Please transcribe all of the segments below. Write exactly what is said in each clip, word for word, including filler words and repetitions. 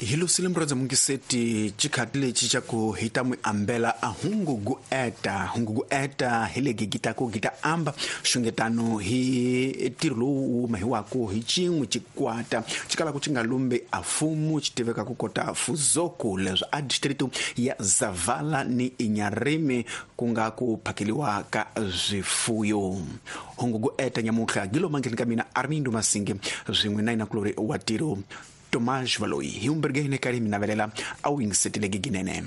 Hi lusile murhandza mungiseti xikhati lexi xa ku hi ta n'wi ambela a hungu gu eta hungu gu eta hi le gigita ku gita amba xungetano hi ntirho lowu wu mahiwaku hi xin'we xikwata xi kalaka xi nga lumbi a fumu xi tiveka ku kota Fuzoku leswi a district ya Zavala ni Inharime ku nga ku phakeliwa ka swifuyo. Hungu gu eta nyamutlha gilo mangheni ka mina Armindo Masinge swin'we na inakulori wa tiro Tomás Valoi, hi umbergene kari minavelela a wu yingisetile ginene.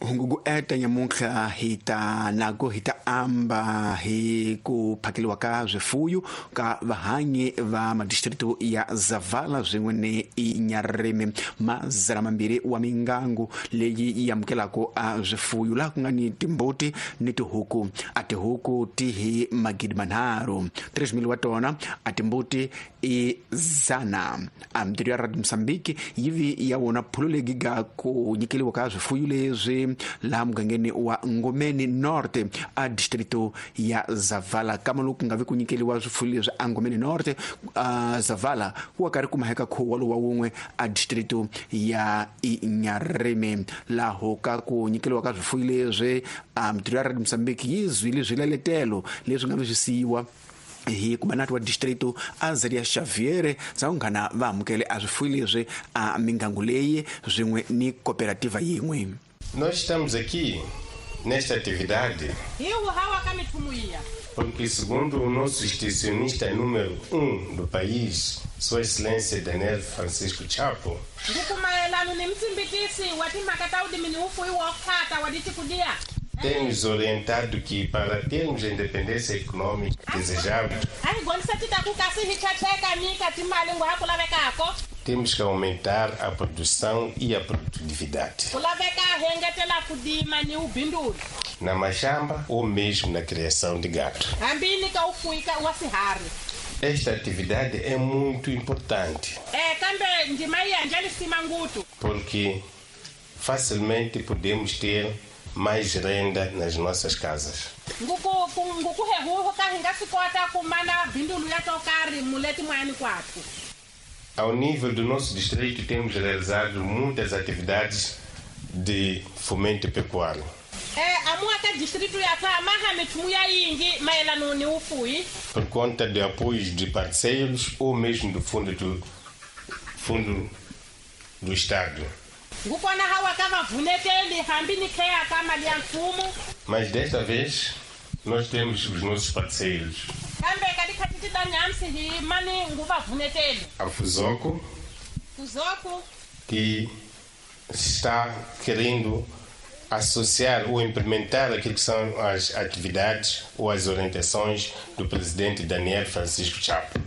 Hungu eta nyamutlha hi ta nago hi ta amba hi ku phakeliwa ka swifuyo ka vahanyi va madistritu ya Zavala swin'we ni Inharime mazana mambirhi wa mingangu leyi yi amukelaka a swifuyo laha ku nga ni timbuti ni tihuku. A tihuku ti hi magidi manharhu tres mil wa tona, a timbuti i zana. A mintirho ya Radio Mozambique yi vi ya wona phulo leyi ga ku nyikeliwa ka swifuyo leswi laha mugangeni wa Ngomeni Norte a distrito ya Zavala. Kama loko ku nga vi ku nyikeliwa swifuyo leswi a Ngomeni Norte a Zavala ku wa karhi ku maheka khuwa lowa wun'we a distrito ya Inharime. Laho ka ku nyikeliwa ka swifuyo leswi a mintirho ya Radio Mozambique yi zwile swileletelo leswi nga vi swi siyiwa hi kumanati wa distrito Azaria Xavier za unghana va amukele a swifuyo leswi a mingangu leyi swin'we ni cooperativa yin'we. Nós estamos aqui nesta atividade porque, segundo o nosso extensionista número um do país, Sua Excelência Daniel Francisco Chapo, tem nos orientado que, para termos a independência econômica desejada, temos que aumentar a produção e a produtividade na machamba ou mesmo na criação de gado. Esta atividade é muito importante porque facilmente podemos ter mais renda nas nossas casas. Ao nível do nosso distrito, temos realizado muitas atividades de fomento pecuário. Por conta de apoios de parceiros ou mesmo do fundo do, fundo do Estado. Mas desta vez, nós temos os nossos parceiros. A Fuzoco, que está querendo associar ou implementar aquilo que são as atividades ou as orientações do presidente Daniel Francisco Chapo.